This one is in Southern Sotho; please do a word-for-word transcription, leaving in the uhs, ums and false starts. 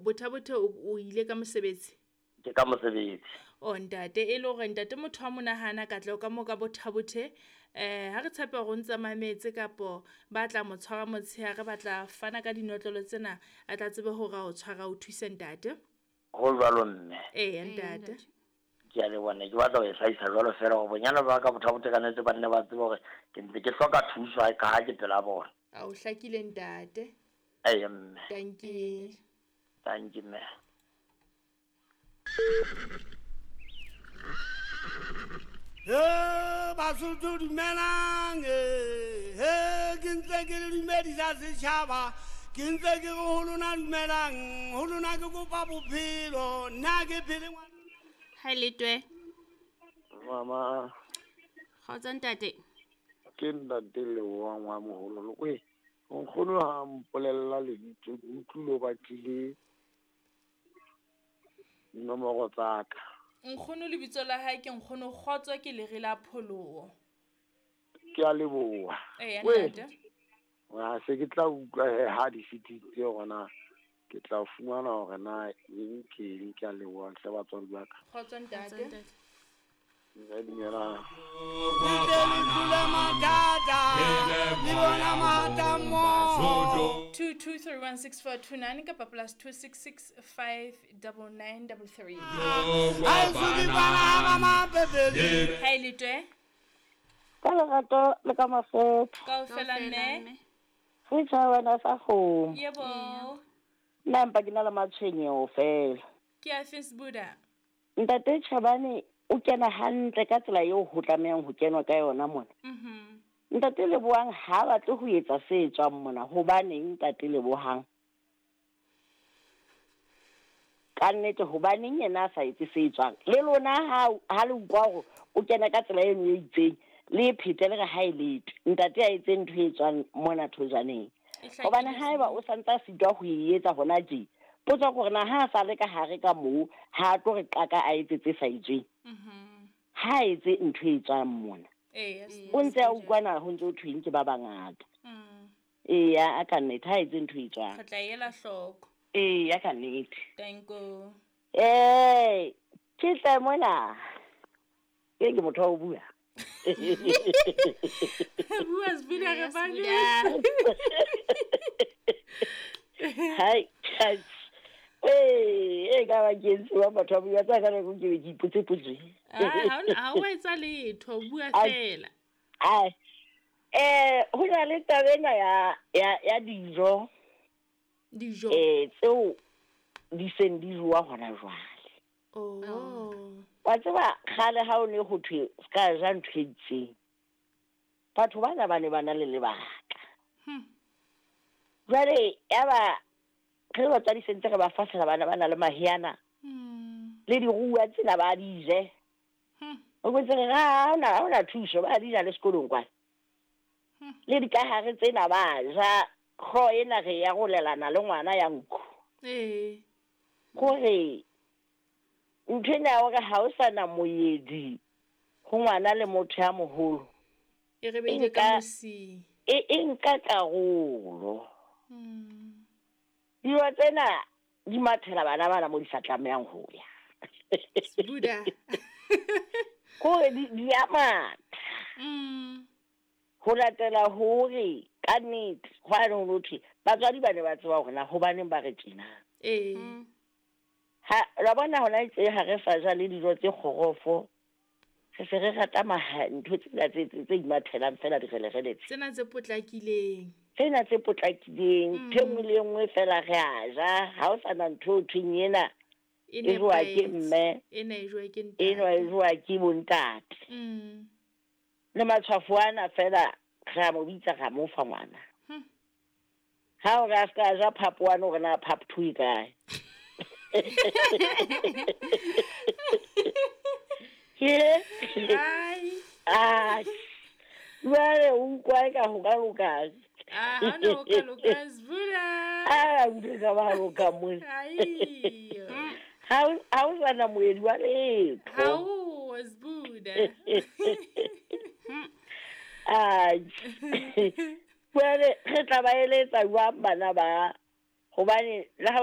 Botha-Bothe o o ile ka mosebetsi? Ke ka mosebetsi. O ntate, e le hore ntate motho wa monahana katleho ka moo ka Botha-Bothe. Eh ha re tshepe hore o ntse mametse kapo ba tla mo tshwara motshehare, ba tla fana ka dinotlolo tsena, a tla tsebe hore a o tshwara o thuse ntate. Ho jwalo mme. Eya ntate. Ke a leboha, ne ke batla ho e hlahisa jwalo feela hore bonyane ba ka Botha-Bothe ka nnete ba nne ba tsebe hore ke ntse ke hloka thuso ka ha ke pela bona. A o hlakile ntate. Eya mme. Dankie. Dankie mme. He Basotho dumelang, he ke ntse ke le dumedisa setjhaba, ke ntse ke re ho lona dumelang, ho lona ke kopa bophelo, nna ke phele ngwana. Ha le twe. Mama. Kgotso ntate. Ke ntate Lebohang wa moholo. We, nkgono ha mpolella lebitso, ke utlwile o batlile nomoro tsa ka. Nkgono lebitso la hae ke nkgono Kgotso, ke lere la pholoho. Ke a leboha. Eya ntate. Wa se ke tla utlwa he ha di fetile hore ke tla fumana hore na eng ke eng. Ke a leboha hle batswadi ba ka. Kgotso ntate. Nna dumelang. Two two three one six four two nine kapa plus two six six five double nine double three. Hi Letwe. Ka lerato le ka mafoko. Kaofela mme. Re tjha wena sa kgomo. Yebo. Nna mpa ke na le matshwenyeho fela. Ke a Facebook. Ntate Chabane o kena hantle ka tsela eo ho tlamehang ho kenwa ka yona mona. Mhm. Ntate Lebohang ha batle ho etsa se tswang mona, hobaneng ntate Lebohang? Ka nnete hobaneng yena a sa etse se tswang? Le lona ha ha le utlwa hore o kena ka tsela e nngwe e itseng, le phete le re ha e letwe. Ntate a etse ntho e tswang mona thojaneng. Hobane haeba o santsa sitwa ho e etsa hona tje, potso ke hore na ha a sa le ka hare ka moo, ha a tlo re qaka a etse tse sa etsweng. Mhm. Ha etse ntho e tswang mona. Eh, o ntse a utlwana ho ntse ho thweng ke ba bangata. Mm. Eya, a ka nnete ha etse ntho e tswang. Re tla ela hloko. Eya, ka nnete. Thank you. Eh, ke tla mona. Ke ke motho wa ho bua. Bua Sbuda re ba le. Hai, hai. Eh, e ka ba ke ntse wa batho ba bua tsa ka nako ke ke ipotse potso. Ah, ha ha o etsa letho, bua fela. Ai. Eh, ho na le taba ena ya ya ya dijo. Dijo. Eh, tseo di seng di jowa hona jwale. Oh. Wa tseba kgale ha o ne ho thwe ska ja ntho e itseng. Batho bana ba ne ba na le lebaka. Hm. Jwale ya ba re batswadi sentse re ba fahlela bana ba na le mahiana. Mm. Le diruwa tsena ba di je. Hm. O botse re ha ona ha ona thuso ba di ja le sekolong kwa. Hm. Le dikahare tsena ba ja kgo ena re ya rolelana le ngwana ya nku. Eh. Kore ntho ena ya hore ha o sana moyedi ho ngwana le motho ya moholo. E re beile ka mosing. E e nka karolo. Mm. Dijo tsena di mathela bana bana mo di sa tlamehang ho ya. Sbuda. Kore di di a matha. Mm. Ho latela hore ka nnete hwane ho thwe batswadi ba ne ba tseba hore na hobaneng ba re tjena. Eh. Ha la bona hona itse ha re sa ja le dijo tse kgorofo. Re se re rata maha ntho tsena tse tse imathelang fela direlerele tse. Tsena tse potlakileng. Tsena tse potlakileng, ntho e nngwe le nngwe fela re a ja, ha o sana ntho o thweng ena E e jowa ke mme, ena e jowa ke ntate. Ena e jowa ke bontate. Mm. Le matshwafo ana fela re a mo bitsa ra mo fa ngwana. Hm. Ha o re a ska ja phapo wane hore na phapo two e kae. Ke? Ai. Ai. Jwale o utlwa eka ho ka loka. Ah, ha no ka loka Sbuda. Ah, o ka ba loka mo. Ai. Ha ha o sana moedi wa letho. Ha o Sbuda. Ai. Jwale re tla ba eletsa jwang bana ba? Hobane le ha o